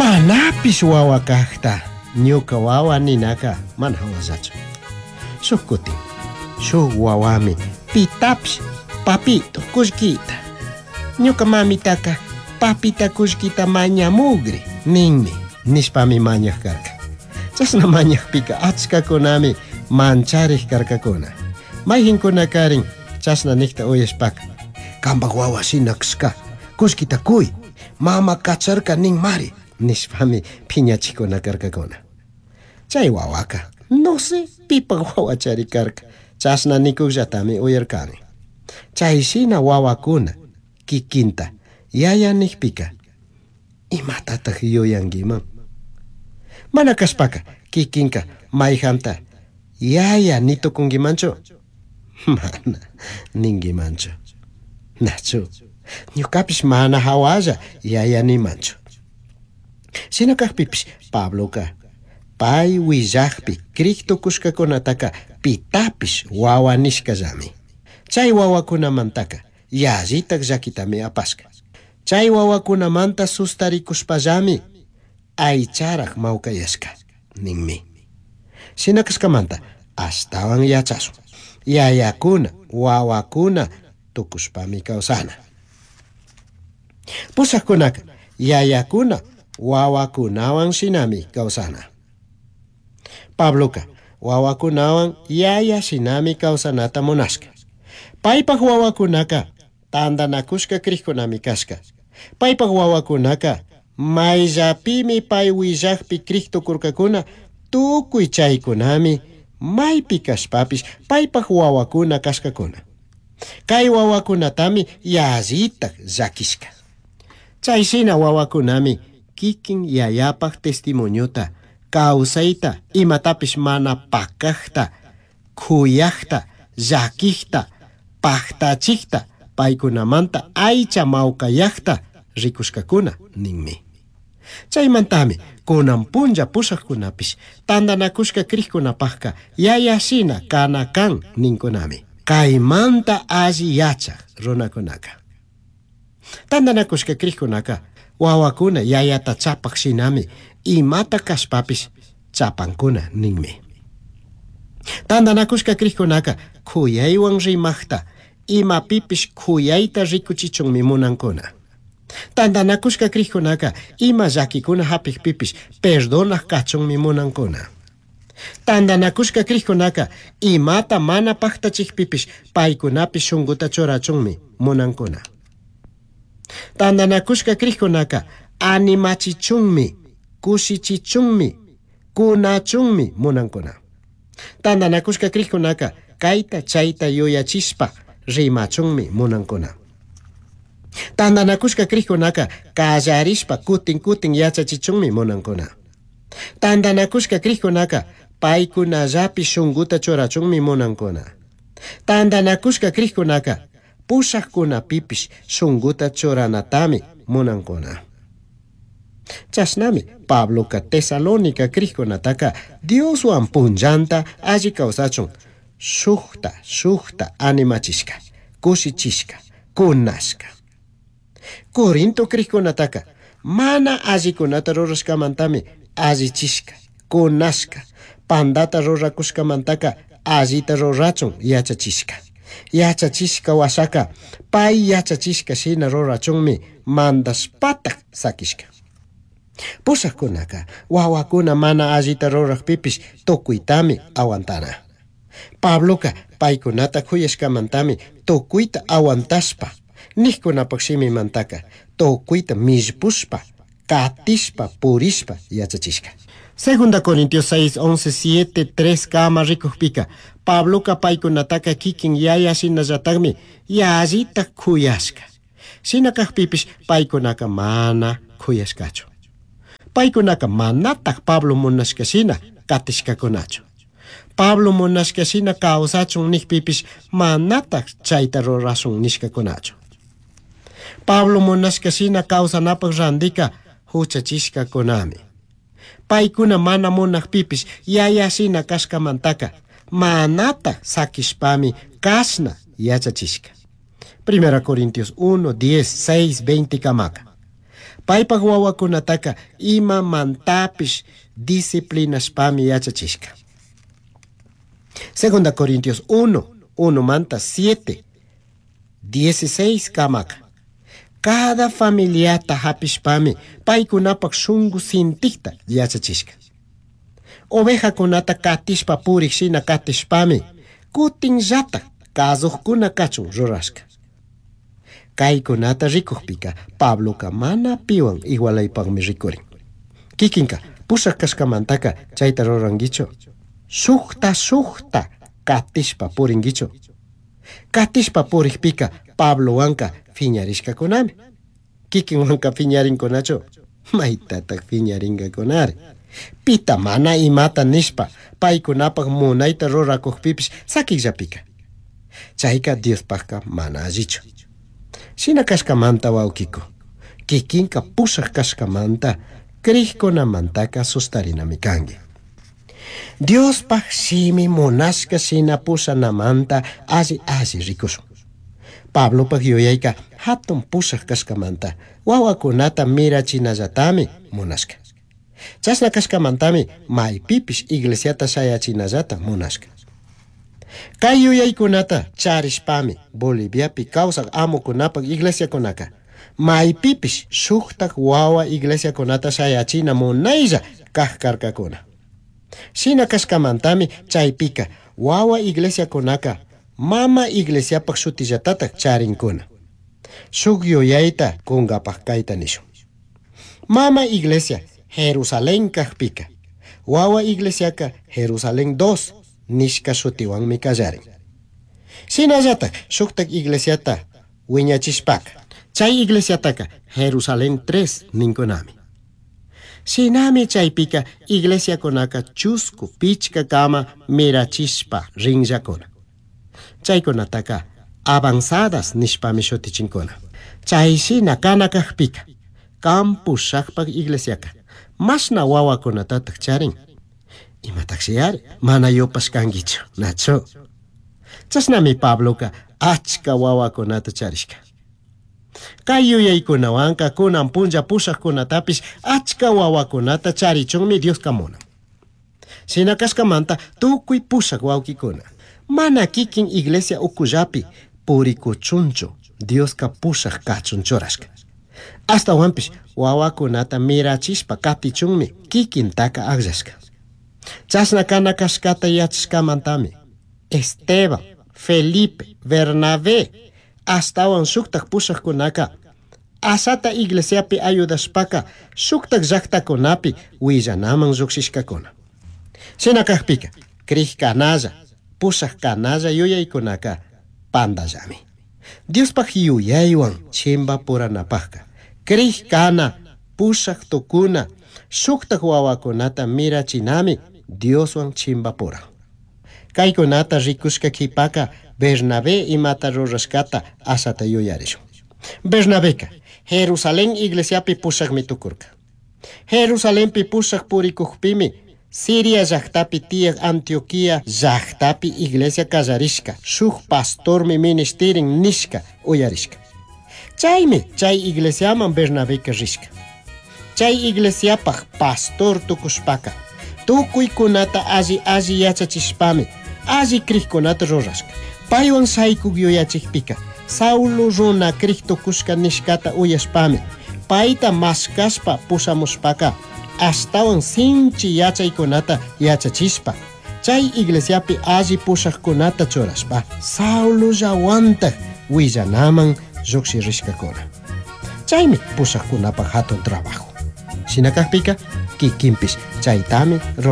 Manapish wawa kajta ñuka wawa ninaka mana hawallachu. Shuk kutin, shuk wawami pitapish papito kullkita. Ñuka mamitaka papita kullkita mañamugri ninmi nishpami mañaj karka. Chashna mañajpika achkakunami mancharij karkakuna. Mayqinkunakarin chashna nijta uyashpaka kambaj wawa shina kashka kullkita kuy mama kacharka ninmari nishpami phiñachikuna karkakuna. Chay wawaka no sé pipaj wawachari karka chashna nikuqllatami uyarkani. Chay shina wawakuna kikinta yaya nijpika imatataq yuyankiman? Mana kashpaka kikinka mayjanta yaya nitukunkimanchu? Mana ninkimanchu. Nachu ñukapish mana hawalla yaya nimanchu. Shina kajpipish Pabloka pay willajpi crik tukushkakunataka pitapish wawa nishkallami. Chay wawakunamantaka yallitak llakitami apashka. Chay wawakunamanta sustarikushpallami aycharaj mawkayashka ninmi. Shina kashkamanta ashtawan yachashun. Yayakuna wawakuna tukushpami kawsana. Pushakkunaka yayakuna wawakunawan shinami kawsana. Pabloka wawakunawan yaya shinami kawsanata munashka. Paypaj wawakunaka tantanakushka krikkunami kashka. Paypaj wawakunaka mayllapimi pay willajpi krik tukurkakuna tukuy chaykunami maypi kashpapish paypaj wawakuna kashkakuna. Kay wawakunatami yallitak llakishka. Chay shina wawakunami kikin yayapaj testimoniota kawsayta imatapish mana pakajta kuyajta llakijta pajtachijta paykunamanta aycha mawkayajta rikushkakuna ninmi. Chaymantami kunan punlla pushajkunapish tantanakushka krikkunapajka yaya shina kana kan ninkunami. Kaymanta alli yachaj runakunaka. Tantanakushka krikkunaka wawakuna yayata chapaj shinami imata kashpapish chapankuna ninmi. Tantanakushka krikkunaka kuyaywan rimajta imapipish kuyayta rikuchichunmi munankuna. Tantanakushka krikkunaka ima llakikuna hapikpipish perdonaj kachunmi munankuna. Tantanakushka krikkunaka imata mana paktachikpipish paykunapish shunkuta churachunmi munankuna. Tantanakushka krikkunaka animachichunmi kushichichunmi kunachunmi munankuna. Tantanakushka krikkunaka kayta chayta yuyachishpa rimachunmi munankuna. Tantanakushka krikkunaka kallarishpa kutin kutin yachachichunmi munankuna. Tantanakushka krikkunaka paykunallapi shunkuta churachunmi munankuna. Tantanakushka krikkunaka pushajkunapipish shunkuta churanatami munankuna. Chashnami Pabloka Tesalónica krikkunataka Dioswan punllanta alli kawsachun shukta shukta animachishka, kushichishka, kunashka. Corinto krikkunataka mana allikunata rurashkamantami allichishka, kunashka, pandata rurakushkamantaka allita rurachun yachachishka. Yachachishka washaka pay yachachishka shina rurachunmi mandashpatak sakishka. Pushajkunaka wawakuna mana allita rurajpipish tukuytami aguantana. Pabloka paykunata kuyashkamantami tukuyta aguantashpa nijkunapaj shimimantaka tukuyta millpushpa katishpa purishpa yachachishka. Segunda Corintios 6, 11, 7, 3 kama rikujpika Pabloka paykunataka kikin yaya shinallatakmi yallita kuyashka. Shina kajpipish paykunaka mana kuyashkachu. Paykunaka manatak Pablo munashka shina katishkakunachu. Pablo munashka shina kawsachun nijpipish manatak chayta rurashun nishkakunachu. Pablo munashka shina kawsanapaj randika huchachishkakunami. Paykuna mana munajpipish yaya shina kashkamantaka manata sakishpami kashna yachachishka. Primera Corintios 1, 10, 6, 20 kamaka. Paipaj huahuacunataca imamantapish disciplinashpami yachachishca. Segunda Corintios 1, 1 manta 7, 16 kamaka. Cada familiata hapishpami paykunapak shunku sintikta yachachishka. Ovejakunata katishpa purik shina katishpami kutinllata kazujkuna kachun rurashka. Kaykunata rikukpika Pabloka mana piwan igualaypakmi rikurin. Kikinka pushak kashkamantaka chayta rurankichu. Shukta shukta katishpa purinkichu. Katishpa purikpika Pablowanka phiñarishkakunami. Kikinwanka phiñarinkunachu. Maytatak phiñarinkakunari. Pita mana imata nishpa paykunapak munayta rurakukpipish sakikllapika. Chayka Diospakka mana allichu. Shina kashkamanta wawkiku. Kikinka pushak kashkamanta krikkunamantaka sustarinami kanki. Diospaj shimi munashka shina pushanamanta alli alli rikushun. Pablopaj yuyayka hatun pushak kashkamanta wawakunata mirachinallatami munashka. Chashna kashkamantami maypipish iglesiata shayachinallata munashka. Kay yuyaykunata charishpami Boliviapi kawsak amukunapak iglesiakunaka maypipish shuktak wawa iglesiakunata shayachina munaylla kak karkakuna. Shina kashkamantami chaypika wawa iglesiakunaka mama iglesiapak shutillatatak charinkuna. Shuk yuyayta kunkapak kayta nishun. Mama iglesia Jerusalén kakpika wawa iglesiaka Jerusalén 2 nishka shutiwanmi kallarin. Shinallatak shuktak iglesiata wiñachishpaka chay iglesiataka Jerusalén 3 ninkunami. Shinami chaypika iglesiakunaka chusku pichka kama mirachishpa rinllakuna. Chaykunataka avanzadas nishpami shutichinkuna. Chay shina kana kakpika kan pushakpak iglesiaka mashna wawakunatatak charin. Imatakshi ari mana yupashkankichu, nachu. Chashnami Pabloka achka wawakunata charishka. Kay yuyaykunawanka kunan punlla pushakkunatapish achka wawakunata charichunmi Dioska munan. Shina kashkamanta tukuy pushak wawkikuna mana kikin iglesia ukullapi purikuchunchu Dioska pushak kachun churashka. Ashtawanpish wawakunata mirachishpa katichunmi kikintaka akllashka. Chashna kana kashkata yachashkamantami Esteban, Felipe, Bernabé ashtawan shuktak pushakkunaka ashata iglesiapi ayudashpaka shuktak llaktakunapi willanaman llukshishkakuna. Shina kakpika krik kanalla, pushak kanalla yuyaykunaka pandallami. Diospaj yuyaywan chimbapuranapajka krik kana, pushak tukuna, shuktak wawakunata mirachinami Dioswan chimbapuran. Kaykunata rikushka kipaka Bernabé imata rurashkata ashata yuyarishun. Bernabeka Jerusalén iglesiapi pushakmi tukurka. Jerusalenpi pushak purikukpimi Siria llaktapi tiyak Antioquia llaktapi iglesia kallarishka shuk pastormi ministirin nishka uyarishka. Chaymi chay iglesiaman Bernabeka rishka. Chay iglesiapaj pastor tukushpaka tukuykunata alli alli yachachishpami alli krikkunata rurashka. Paywan shaykuk yuyachikpika Saulo runa krik tukushka nishkata uyashpami payta mashkashpa pushamushpaka ashtawan sinchi yachaykunata yachachishpa chay iglesiapi alli pushakkunata churashpa Saulollawantak willanaman llukshirishkakuna. Chaymi pushakkunapak hatun trabajo. Shina kakpika kikinpish chaytami rurashka.